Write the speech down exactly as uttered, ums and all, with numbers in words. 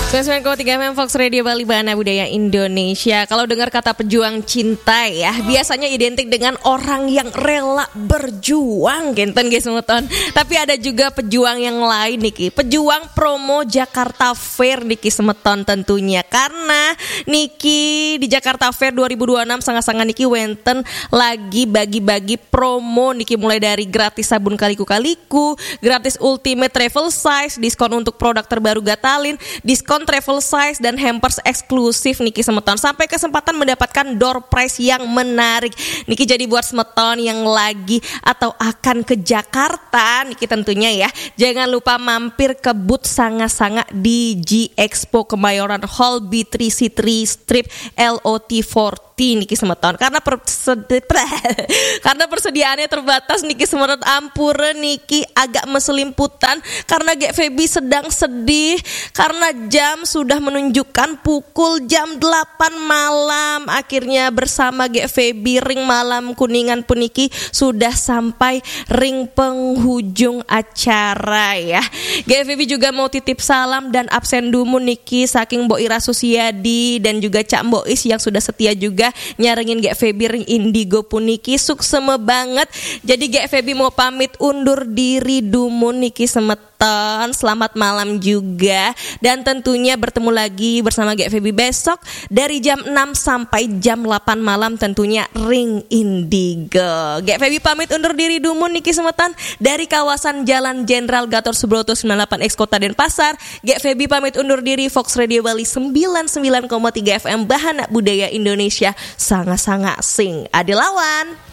Sembilan sembilan koma tiga F M Fox Radio Bali, Bahana Budaya Indonesia. Kalau dengar kata pejuang cinta ya, biasanya identik dengan orang yang rela berjuang, kinten nggih semeton. Tapi ada juga pejuang yang lain niki, pejuang promo Jakarta Fair niki semeton tentunya. Karena niki di Jakarta Fair dua ribu dua puluh enam sanga-sanga niki wenten lagi bagi-bagi promo niki, mulai dari gratis sabun kaliku-kaliku, gratis Ultimate Travel Size, diskon untuk produk terbaru Gatalin, diskon travel size dan hampers eksklusif niki semeton, sampai kesempatan mendapatkan door prize yang menarik. Niki jadi buat semeton yang lagi atau akan ke Jakarta niki tentunya ya, jangan lupa mampir ke booth sanga-sanga di G Expo Kemayoran Hall, B three C three Strip, L O T forty niki semeton. Karena persedi- karena persediaannya terbatas niki semeton, ampure niki agak meselimputan karena Gek Feby sedang sedih karena jam sudah menunjukkan pukul jam delapan malam. Akhirnya bersama Gek Feby ring malam Kuningan puniki sudah sampai ring penghujung acara ya. Gek Feby juga mau titip salam dan absen dumun niki saking Mbok Ira Susiadi dan juga Cak Mbok Is yang sudah setia juga nyarengin Gek Feby ring Indigo puniki. Sukseme banget. Jadi Gek Feby mau pamit undur diri dumun niki semeton. Selamat malam juga. Dan tentunya bertemu lagi bersama Gek Feby besok dari jam enam sampai jam delapan malam tentunya ring Indigo. Gek Feby pamit undur diri dumun niki semeton dari kawasan Jalan Jenderal Gatot Subroto sembilan delapan X Kota Denpasar. Gek Feby pamit undur diri, Fox Radio Bali sembilan sembilan koma tiga F M, Bahana Budaya Indonesia, sanga-sanga sing ade lawan.